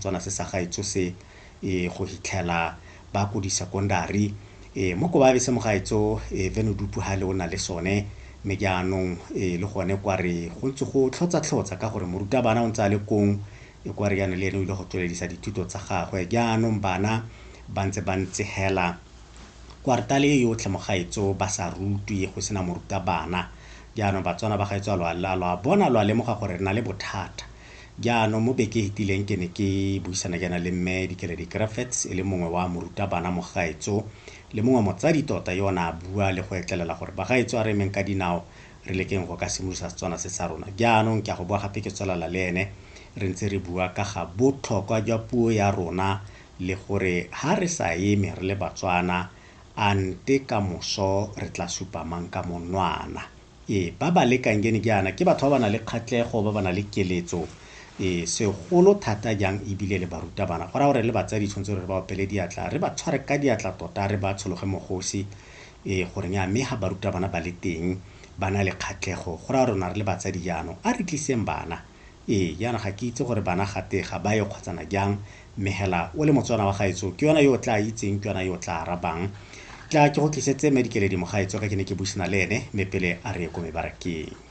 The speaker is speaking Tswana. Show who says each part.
Speaker 1: Setswana se sa gaetsho se e go hitlhela ba ko di-secondary. E mo ko ba bese mogaetso e Venudupu ha le o na le sone, mme jaanong e le gone kwa re go ntse go tlhotsa-tlhotsa ka gore morutabana o ntse a le kong, e kwa re jaanong le ene o ile go tsweledisa dithuto tsa gagwe. Jaanong bana ba ntse ba ntse hela kwartale e yotlhe mogaetso ba sa rutwe, go sena morutabana. Jaanong Batswana ba gaetso a lo a bona, lo a lemoga gore re na le bothata. Jaanong mo beke e fetileng ke ne ke buisana jaana le mme Dikeledi Griffiths, e le mongwe wa morutabana mogaetso le mongwe motsadi tota yo o ne a bua le go etlelela gore bagaetso a re emeng ka dinao re lekeng go ka simolodisa Setswana se sa rona. Jaanong ke a go boa gape ke tswelela le ene re ntse re bua ka ga botlhokwa jwa puo ya rona le gore ha re sa eme re le Batswana a nte ka moso re tla supa mang ka monwana. Ee, ba ba lekang kene jaana ke batho ba ba nang le kgatlhego, ba ba nang le keletso, ee, segolo thata jang ebile le barutabana. Go raya gore le batsadi tshwanetse re ba opele diatla, re ba tshware ka diatla tota, re ba tshologe mogosi, ee, gore nya mme ga barutabana ba le teng ba na le kgatlhego, go raya rona re le batsadi jaanong a re tliseng bana. Ee, jaanong ga ke itse gore bana gate ga ba ye kgotsana jang, mme hela o le Motswana wa gaetsho ke yona yo o tla itseng, ke yona yo o tla arabang. Tla ke go tlisetse mme Dikeledi mogaetsho ka ke ne ke buisana le ene, mme pele a re ye ko mebarakeng.